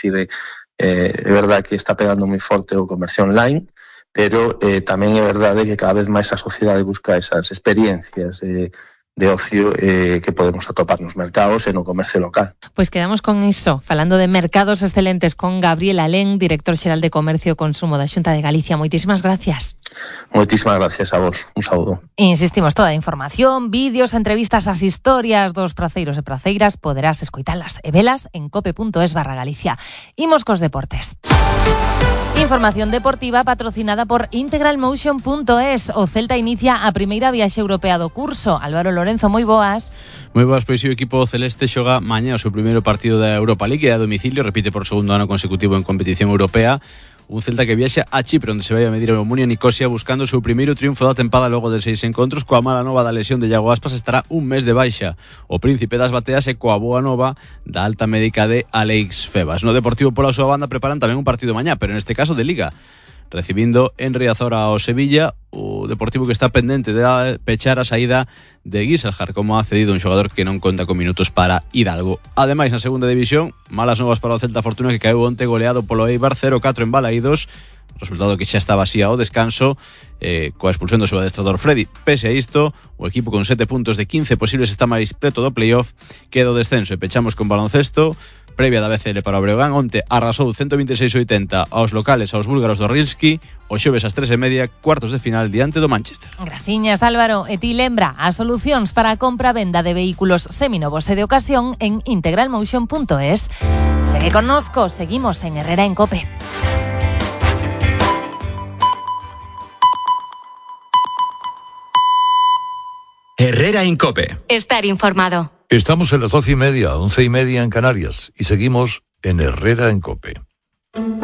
dicir, é verdade que está pegando moi forte o comercio online, pero tamén é verdade que cada vez máis a sociedade busca esas experiencias de ocio que podemos atopar nos mercados e no comercio local. Pois quedamos con iso, falando de mercados excelentes con Gabriel Alén, director xeral de Comercio e Consumo da Xunta de Galicia. Moitísimas gracias. Moitísimas gracias a vos. Un saúdo. Insistimos, toda a información, vídeos, entrevistas, as historias dos praceiros e praceiras poderás escoitalas e velas en cope.es/Galicia. Imos cos deportes. Información deportiva patrocinada por integralmotion.es. O Celta inicia a primeira viaxe europea do curso. Álvaro Lorenzo, moi boas. Moi boas, pois o equipo celeste xoga mañá o seu primeiro partido da Europa League a domicilio, repite por segundo ano consecutivo en competición europea. Un Celta que viaxa a Chipre, onde se vai a medir a Omonia Nicosia buscando o seu primeiro triunfo da tempada logo de 6 encontros. Coa mala nova da lesión de Iago Aspas estará un mes de baixa. O príncipe das bateas e coa boa nova da alta médica de Alex Febas. No Deportivo pola súa banda preparan tamén un partido mañá, pero neste caso de Liga, recibindo en Riazor ao Sevilla, o Deportivo que está pendente de pechar a saída de Guiselhard, como ha cedido un xogador que non conta con minutos para Hidalgo. Ademais, na segunda división, malas novas para o Celta Fortuna, que caeu onte goleado polo Eibar 0-4 en Balaídos, resultado que xa estaba así ao descanso, coa expulsión do seu adestrador Freddy. Pese a isto, o equipo con 7 puntos de 15 posibles está máis preto do playoff que do descenso. E pechamos con baloncesto. Previa da BCL para o Breogán, onte arrasou 126-80 aos locales, aos búlgaros do Rilski. O xoves ás 3:30, cuartos de final diante do Manchester. Graciñas, Álvaro. E ti lembra as solucións para a compra-venda de vehículos seminovos e de ocasión en integralmotion.es. Segue connosco, seguimos en Herrera en Cope. Herrera en Cope. Estar informado. Estamos en las 12:30, 11:30 en Canarias y seguimos en Herrera en Cope.